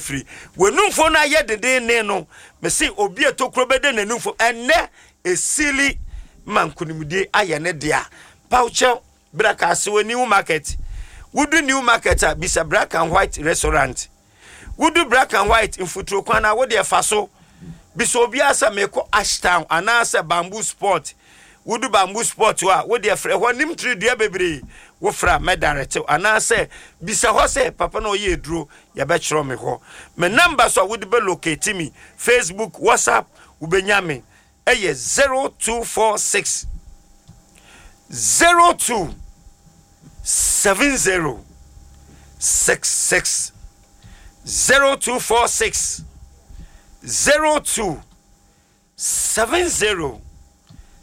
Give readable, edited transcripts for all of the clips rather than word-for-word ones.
afiri. W'anumfo no ayɛ dendeenden no, mese obi a tokuro bɛda n'anumfo ɛnnɛ, esili ma nkonimdie ayɛ ne dea. Pawkyɛw, bra Kasewa New Market. Wodu New Market a, bisa Black and White Restaurant. Wodu Black and White mfuturo kwan a, wo deɛ fa so. Bisa obiara sɛ mekɔ Ashtown anaasɛ Bamboo Spot. Wodu Bamboo Spot hɔ a, wo deɛ frɛ hɔ nim tiri dua bebree. Wofrɛ a mɛdaretew anaasɛ bisa hɔ sɛ papa na ɔyɛ aduro, yɛbɛkyerɛ me hɔ. Me number so a wode bɛ locate me, Facebook, WhatsApp, wobɛnya me ɛyɛ 0246 02 70 66 0246 02 70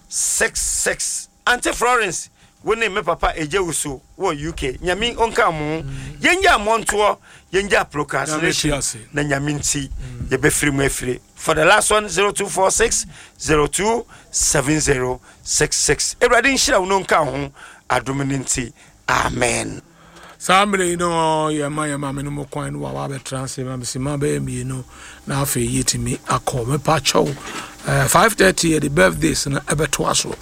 66. Auntie Florence, wo ne me papa Egye Wusu wɔ UK. Nyame onka mo. Yɛngya mmɔntoɔ, yɛngya procrastination na Nyame nti yɛbɛfiri mu afiri. For the last one, 0246 02 70 66. Awurade nhyira wo no nka ho adom no nti. Amen. Saa mmerɛ yi no yɛma yɛn maame no mu kwan no wawa abɛtena ase ma mesima bɛyɛ mmienu na afei yɛtumi akɔ. Mepa kyɛw, 5:30 yɛde birthdays no ɛbɛtoa so,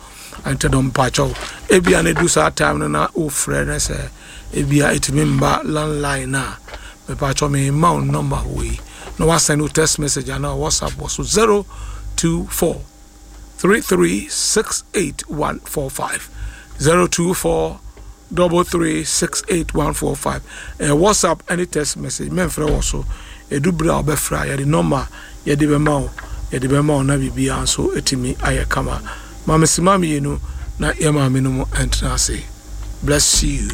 nti no mepa kyɛw, ebia no du saa time no na wofrɛ no sɛ ebia ɛtumi mba landline no a, mepa kyɛw, mema wo number wei na wasend wo text message anaa WhatsApp wɔ so, 024 3368145, 024 3368145. Ɛyɛ WhatsApp ɛne text message, mɛmfrɛ wɔ so. Ɛdu berɛ a wobɛfrɛ a, yɛde number yɛde bɛma wo, yɛde bɛma wo na biribiara nso ɛtumi ayɛ kama. Maame sima mmienu na yɛ maame no mu ɛntena ase. Bless you.